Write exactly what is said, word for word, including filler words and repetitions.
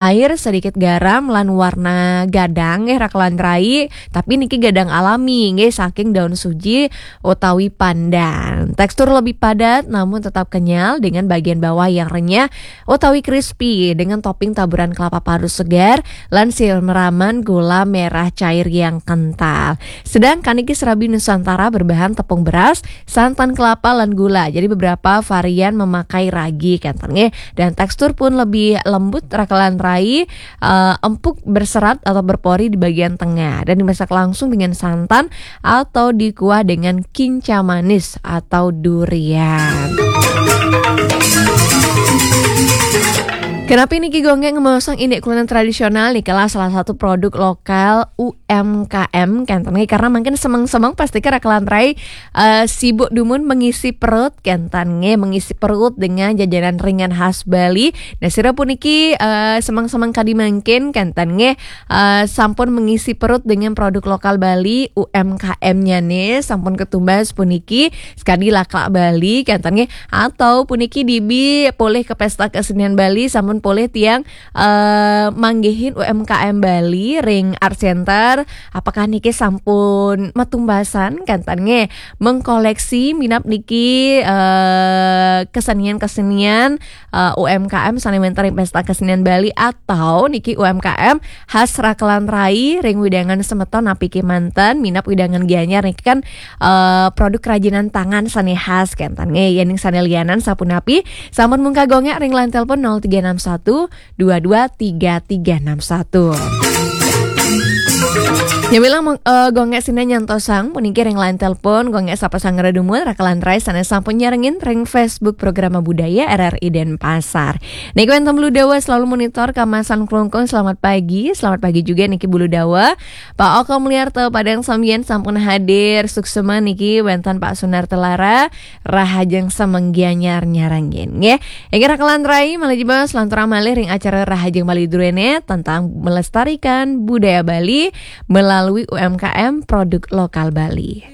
air, sedikit garam, lan warna gadang nggih rakelan rai, tapi niki gadang alami nggih saking daun suji utawi pandan. Tekstur lebih padat namun tetap kenyal dengan bagian bawah yang renyah utawi crispy dengan topping taburan kelapa parut segar lan siraman gula merah cair yang kental. Sedangkan niki serabi Nusantara berbahan tepung beras, santan kelapa lan gula. Jadi beberapa varian memakai ragi kenten nggih. Dan tekstur pun lebih lembut rakelan rai, eh, empuk berserat atau berpori di bagian tengah dan dimasak langsung dengan santan atau dikuah dengan kinca manis atau durian. Kenapa niki Gonggek ngomong ini kuliner tradisional nih, salah satu produk lokal U M K M kenten nggih, karena mungkin semeng-semeng pasti ke rakelan rai, eh, sibuk dumun mengisi perut kenten nggih, mengisi perut dengan jajanan ringan khas Bali. Nah, sira puniki, eh, semeng-semeng kadi mangkin kenten nggih, eh, sampun mengisi perut dengan produk lokal Bali, U M K M-nya nih sampun ketumbas puniki sekadi laklak Bali kenten nggih, atau puniki dibi polih ke pesta kesenian Bali sampun polih tiang, eh, manggihin U M K M Bali ring Art Center. Apakah niki sampun matumbasan kenten nggih mengkoleksi minab niki, eh, kesenian-kesenian, eh, U M K M sane wenten ring pesta kesenian Bali atau niki U M K M khas rakelan rai ring wewidangan semeton napi kemanten minab wewidangan Gianyar niki kan, eh, produk kerajinan tangan sane khas kenten nggih. Yening sane lianan sapunapi sampun mungkah Gonggek ring line telepon nol tiga enam satu dua dua tiga tiga enam satu. Ya bilang, eh, Gonggek sina nyantosang puniki ring line telepon Gonggek sapa sang ngredumul rakelan rai sane sampun nyarengin ring Facebook Programa Budaya R R I Denpasar. Niki wenten Bulu Dawa selalu monitor kamasan klungkung. Selamat pagi, selamat pagi juga niki Bulu Dawa. Pak Oko Mulyarto Padang Sambian sampun hadir. Suksema niki wenten Pak Sunar Telara, rahajeng semeng Gianyar nyarengin nggih. Inggih rakelan rai, malih jebos lanturang malih ring acara Rahajeng Bali Druene tentang melestarikan budaya Bali melalui U M K M produk lokal Bali.